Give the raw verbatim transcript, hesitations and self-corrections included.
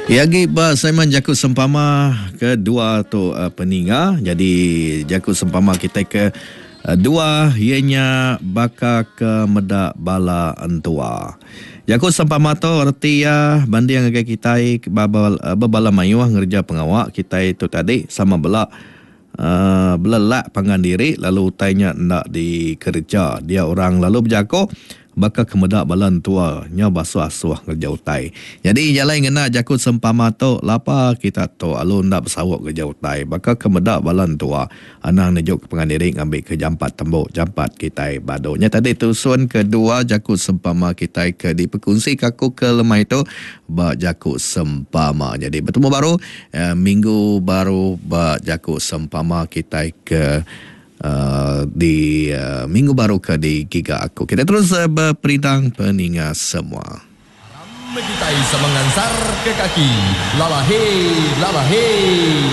Iya agi ba segmen jaku sempama kedua tu peninga. Nyadi jaku sempama kitai ke dua iya nya baka ke meda bala entua. Jaku sempama tu reti iya banding ngagai kitai bebala mayuh ngereja pengawa kitai tu tadi sama bela uhh belelak pangan diri lalu utai nya enda dikereja dia orang lalu bejaku Baka ke meda bala entua nyau basuh-asuh ngereja utai. Nyadi jalai ngena jaku sempama tu lapa kita tu alu enda besaup ngereja utai baka ke meda bala entua. Anang nejuka pangan diri ngambika jampat tembu jampat kitai badu. Nya tadi tusun kedua jaku sempama kitai ke dipekunsika aku ke lemai tu ba jaku sempama. Nyadi betemu baru minggu baru ba jaku sempama kitai ke. Di minggu baru ke digiga aku. Kita terus beperindang peninga semua. Aram kitai sama ngansar ke kaki lala hei lala hei.